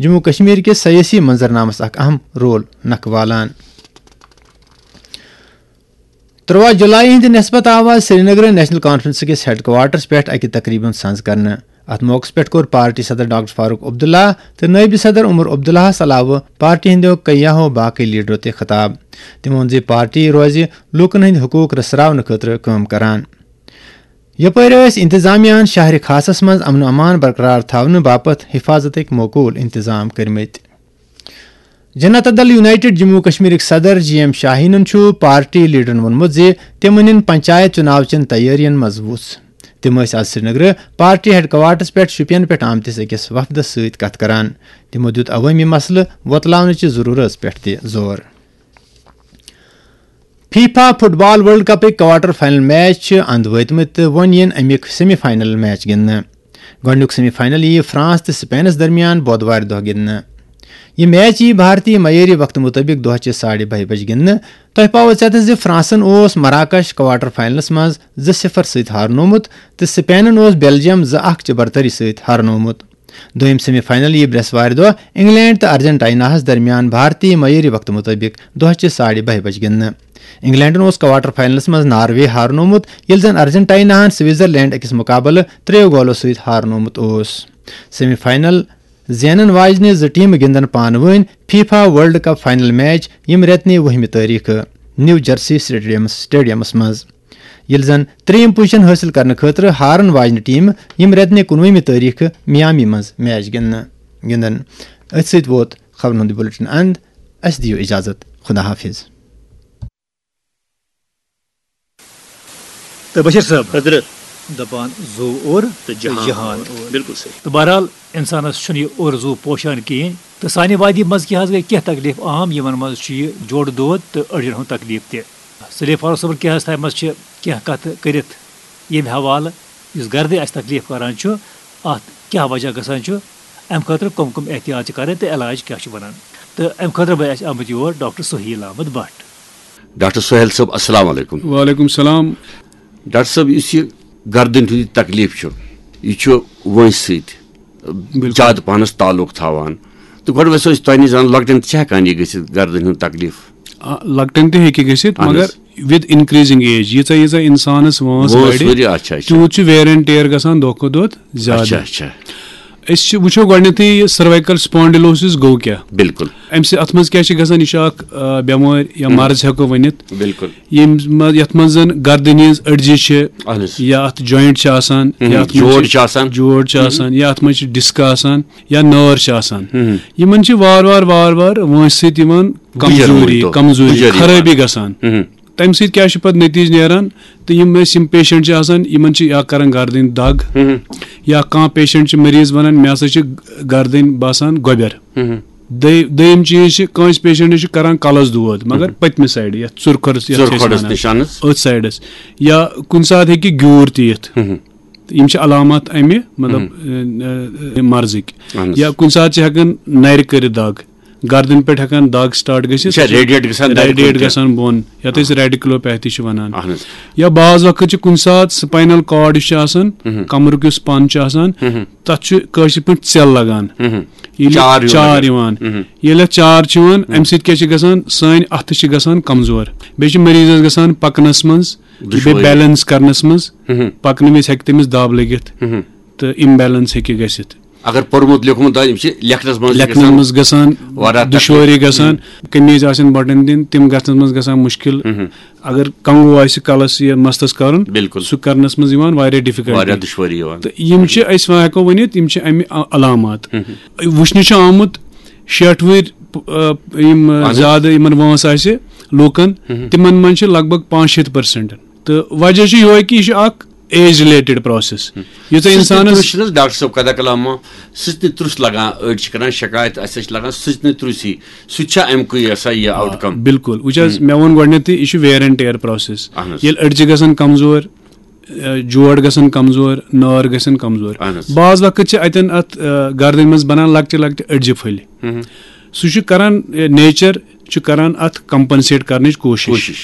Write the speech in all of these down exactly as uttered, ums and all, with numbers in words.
جموں کشمیر کِس سیٲسی منظرنامس اکھ اہم رول نکھٕ والان۔ تُرٛواہ جولائی ہٕنٛدِ نسبت آو آز سرینگرٕ نیشنل کانفرنس کِس ہیڈ کوارٹرس پٮ۪ٹھ اکہِ تقریبہِ ہُنٛد سنز کرنہٕ۔ اتھ موقعس پٮ۪ٹھ کوٚر پارٹی صدر ڈاکٹر فاروق عبداللہ تہٕ نٲیِب صدر عمر عبداللہس علاوٕ پارٹی ہٕنٛدیو کیاہو باقٕے لیڈرو تہِ خطاب۔ تِمو ووٚن زِ پارٹی روزِ لوٗکن ہٕنٛدۍ حقوٗق رژھراونہٕ خٲطرٕ کٲم کران۔ یپٲرۍ ٲسۍ انتظامیہ ہن شہرِ خاصس منٛز امن و امان برقرار تھاونہٕ باپتھ حفاظتٕکۍ معقول انتظام کٔرمٕتۍ۔ جنتا دل یونائیٹڈ جموں کشمیرٕکۍ صدر جی ایم شاہینن چھُ پارٹی لیڈرن ووٚنمُت زِ تِم أنِن پنچایت چُناو چٮ۪ن تیٲرین منٛز وُژھ۔ تِم ٲسۍ آز سرینگرٕ پارٹی ہیڈ کوارٹرس پٮ۪ٹھ شوپین پٮ۪ٹھ آمتِس أکِس وفدس سۭتۍ کتھ کران۔ تِمو دیُت عوٲمی مسلہٕ وۄتلاونٕچہِ ضروٗرت پٮ۪ٹھ تہِ زور۔ فیفا فٹ بال ورلڈ کپٕکۍ کوارٹر فائنل میچ چھِ اند وٲتمٕتۍ تہٕ وۄنۍ یِن امیُک سیمی فائنل میچ گِنٛدنہٕ۔ گۄڈٕنیُک سیمی فائنل یِیہِ فرانس تہٕ سپینس درمیان بۄدوارِ دۄہ گِنٛدنہٕ۔ یہِ میچ یِیہِ بھارتی معیٲری وقتہٕ مُطٲبِق دۄہچہِ ساڑِ بَہہِ بجہِ گِنٛدنہٕ۔ تۄہہِ پاوو ژٮ۪تس زِ فرانسن اوس مراکش کوارٹر فائنلس منٛز زٕ صفر سۭتۍ ہارنومُت تہٕ سپینن اوس بیلجیم زٕ اکھ چہِ برتری سۭتۍ ہارنومُت۔ دوٚیِم سیمی فائنل یِیہِ برٛٮ۪سوارِ دۄہ انگلینڈ تہٕ ارجنٹائناہس درمیان بھارتی معیٲری وقتہٕ مُطٲبِق دۄہچہِ ساڑِ بَہہِ بجہِ گِنٛدنہٕ۔ انگلینڈن اوس کوارٹر فائنلس منٛز ناروے ہارنومُت، ییٚلہِ زن ارجنٹائناہن سوئٹزرلینڈ أکِس مقابلہٕ ترٛیٚیو گولو سۭتۍ ہارنومُت اوس۔ سیمی فائنل زینن واجنہِ زٕ ٹیمہٕ گِنٛدن پانہٕ وٲنۍ FIFA world cup final match ییٚمہِ رٮ۪تہٕ نہِ وُہمہِ تٲریخہٕ نیو جرسی سٹیڈیمس، سٹیڈیمس منٛز، ییٚلہِ زن ترٛیٚیِم پوزیشن حٲصِل کرنہٕ خٲطرٕ ہارن واجنہِ ٹیمہٕ ییٚمہِ رٮ۪تہٕ نہِ کُنوُہمہِ تٲریخہٕ میامی منٛز میچ گِنٛدنہٕ، گِنٛدن۔ أتھۍ سۭتۍ ووت خبرن ہُنٛد یہِ بلیٹن اند۔ اسہِ دِیِو اجازت۔ خدا حافظ۔ تہٕ بشیر صٲب حضرت۔ دپان زُو اوٚر تہٕ جہان جہان اوٚر۔ اوٚر۔ بِلکُل صحیح۔ تہٕ بہرحال، اِنسانَس چھُنہٕ یہِ اوٚر زُو پوشان کِہیٖنۍ۔ تہٕ سانہِ وادی منٛز کیٛاہ حظ گٔے کینٛہہ تکلیٖف عام، یِمَن منٛز چھُ یہِ جوڑٕ دود تہٕ أڈجَن ہُنٛد تکلیٖف تہِ۔ سلیف فاروق صٲبَن کیٛاہ حظ تھایہِ منٛز چھِ کینٛہہ کَتھٕ کٔرِتھ ییٚمہِ حوالہٕ، یُس گردِ اَسہِ تکلیٖف کران چھُ، اَتھ کیٛاہ وجہ گژھان چھُ، اَمہِ خٲطرٕ کٕم کٕم احتیاط چھِ کَرٕنۍ تہٕ علاج کیٛاہ چھُ بَنان۔ تہٕ اَمہِ خٲطرٕ بَنہِ اَسہِ آمٕتۍ یور ڈاکٹر سہیل احمد بٹ۔ ڈاکٹر سہیل صٲب، السلام علیکم۔ وعلیکم السلام۔ ڈاکٹر صٲب، یُس یہِ گردن ہُنٛد یہِ تکلیٖف چھُ، یہِ چھُ وٲنٛسہِ سۭتۍ بِلکُل۔ زیادٕ پَہنَس تعلق تھاوان۔ تہٕ گۄڈٕ وَسو أسۍ تۄہہِ نِش زانُن، لۄکٹٮ۪ن تہِ چھا ہٮ۪کان یہِ گٔژھِتھ، گردن ہُنٛد تکلیٖف؟ آ، لۄکٹٮ۪ن تہِ ہیٚکہِ گٔژھِتھ، اہن مگر حظ۔ With increasing age، ییٖژاہ ییٖژاہ اِنسانَس وٲنٛس وٲنٛس بَڑِ، ہُرِ، اچھا، اچھا۔ تیوٗت چھُ wear and tear گژھان دۄہ کھۄتہٕ دۄہ زیادٕ۔ اچھا، اچھا۔ أسۍ چھِ، وٕچھو گۄڈٕنٮ۪تھٕے یہِ cervical spondylosis گوٚو کیٛاہ؟ بِلکُل۔ اَمہِ سۭتۍ، اَتھ منٛز کیٛاہ چھِ گژھان؟ یہِ چھِ اَکھ، آ، بٮ۪مٲرۍ یا ہُم۔ مرض ہٮ۪کو ؤنِتھ۔ بِلکُل۔ ییٚمہِ منٛز، یَتھ منٛز زَن گردٕنۍ ہِنٛز أڈجہِ چھِ، اہن حظ۔ یا اَتھ joint چھِ آسان، ہُم، یا اَتھ منٛز جوڑ چھِ، چھِ آسان۔ جوڑ چھِ ہُم۔ آسان، یا اَتھ منٛز چھِ disc آسان، یا نٲر چھِ آسان۔ ہُم۔ یِمَن چھِ وارٕ وارٕ، وارٕ وارٕ وٲنٛسہِ سۭتۍ یِوان بُجَر کمزوری، مٲنۍ تو۔ کمزوری، بُجَر یِوان۔ خرٲبی گژھان۔ ہُم۔ تَمہِ سۭتۍ کیٛاہ چھُ پَتہٕ نٔتیٖجہٕ نیران؟ تہٕ یِم أسۍ یِم patient چھِ آسان، یِمَن چھِ یا کَران گردٕنۍ دَگ، ہُم۔ یا کانٛہہ patient چھِ مریض وَنان، "مےٚ ہسا چھِ گردٕنۍ باسان گۄبٮ۪ر۔" ہُم۔ دٔے-، دوٚیِم چیٖز چھِ، کٲنٛسہِ patientس چھِ کَران کَلَس دود، مگر ہُم۔ پٔتمہِ sideٕ، یَتھ ژُرکھۄڈَس، یَتھ چھِ أسۍ ژُرکھۄڈَس وَنان، نِش اَنَس۔ أتھۍ sideس۔ یا کُنہِ ساتہٕ ہیٚکہِ گیوٗر تہِ یِتھ۔ ہُم۔ تہٕ یِم چھِ علامات اَمہِ، مطلب، ہُم۔ اَ، اَ، مرضٕکۍ۔ اَہَن حظ۔ یا کُنہِ ساتہٕ چھِ ہٮ۪کان نَرِ کٔرِتھ دَگ۔ گردن پٮ۪ٹھ ہٮ۪کان دَگ start گٔژھِتھ۔ یہِ چھا radiate گژھان نَرِ کُن radiate تہِ؟ گژھان بۄن، یَتھ أسۍ آ۔ Radiculopathysچھِ وَنان۔ اَہَن حظ۔ یا بعض وقت چھِ کُنہِ ساتہٕ spinal cord یُس چھُ آسان، مہم۔ کمرُک یُس پَن چھُ آسان، مہم۔ تَتھ چھُ کٲشِر پٲٹھۍ ژٮ۪ل لگان۔ مہم۔ ییٚلہِ چار یِوان چار اَتھ۔ یِوان، مہم۔ ییٚلہِ اَتھ چار چھِ یِوان، مہم۔ اَمہِ سۭتۍ کیٛاہ چھِ گژھان؟ سٲنۍ اَتھٕ چھِ گژھان کمزور۔ بیٚیہِ چھِ مریضَس گژھان پَکنَس منٛز، بیٚیہِ دُشوٲری۔ Balance کرنَس منٛز، مہم۔ پَکنہٕ وِزِ ہٮ۪کہِ تٔمِس دَب لٔگِتھ مہم۔ تہٕ imbalance ہیٚکہِ گٔژھِتھ۔ اگر پوٚرمُت لیوٚکھمُت آسہِ، یِم چھِ لیکھنَس منٛز تہِ لیکھنَس گژھان منٛز گژھان واریاہ تکلیٖف۔ دُشوٲری گژھان، ہُم۔ قمیٖض آسن بٹن دِنۍ، تِم گژھنَس منٛز گژھان مُشکِل۔ ہُم۔ اگر کنگو آسہِ کلس یا مستس کرُن، بِلکُل۔ سُہ کرنَس منٛز یِوان واریاہ difficulty۔ واریاہ دُشوٲری یِوان۔ تہٕ یِم چھِ، أسۍ وۄنۍ ہٮ۪کو ؤنِتھ، یِم چھِ اَمہِ ع-، علامات۔ ہُم۔ وٕچھنہٕ چھُ آمُت، شیٹھ وٕہٕرۍ، پ-، آ، یِم، آ، اہن حظ۔ زیادٕ یِمن وٲنٛس آسہِ لوٗکن، ہُم۔ تِمن منٛز چھِ لگ بگ پانٛژھ شیٖتھ percent۔ تہٕ وجہ چھُ یِہوے کہِ یہِ چھُ اکھ age related process۔ ہم۔ یُتھُے سٕژنہِ اِنسانَس تُرُس چھُنہٕ حظ ڈاکٹر صٲب، قدہ کلام، سٕژنہِ تُرُس لگان، أڑۍ چھِ کران شکایت، اَسہِ حظ چھِ لگان سٕژنہِ تُرُسی، سُہ تہِ چھا اَمہِ کُے یہِ ہسا یہِ آ، outcome؟ بِلکُل۔ وٕچھ حظ، ہم۔ مےٚ ووٚن گۄڈٕنیتھٕے، یہِ چھُ wear and tear process۔ اہن حظ۔ ییٚلہِ أڈجہِ گژھن کمزور، آ، جوڑ گژھن کمزور، نٲر گژھن کمزور۔ اہن حظ۔ بعض وقت چھِ اتٮ۪ن اتھ، آ، گردنہِ منٛز بنان لۄکٹہِ لۄکٹہِ أڈجہِ پھٔلۍ۔ ہم۔ سُہ چھُ کران، آ، nature چھُ کران اتھ compensate کرنٕچ کوٗشش۔ کوٗشش۔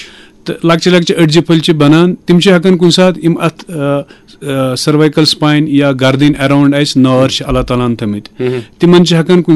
تہٕ لۄکچہِ لۄکچہِ أڈجہِ پھٔلۍ چھِ بنان، تِم چھِ ہٮ۪کان کُنہِ ساتہٕ یِم اتھ، آ، آ، cervical spine یا گردٕنۍ around اَسہِ نٲر چھِ اللہ تعالیٰ ہن تھٲمٕتۍ، ہم۔ تِمن چھِ ہٮ۪کان کُنہِ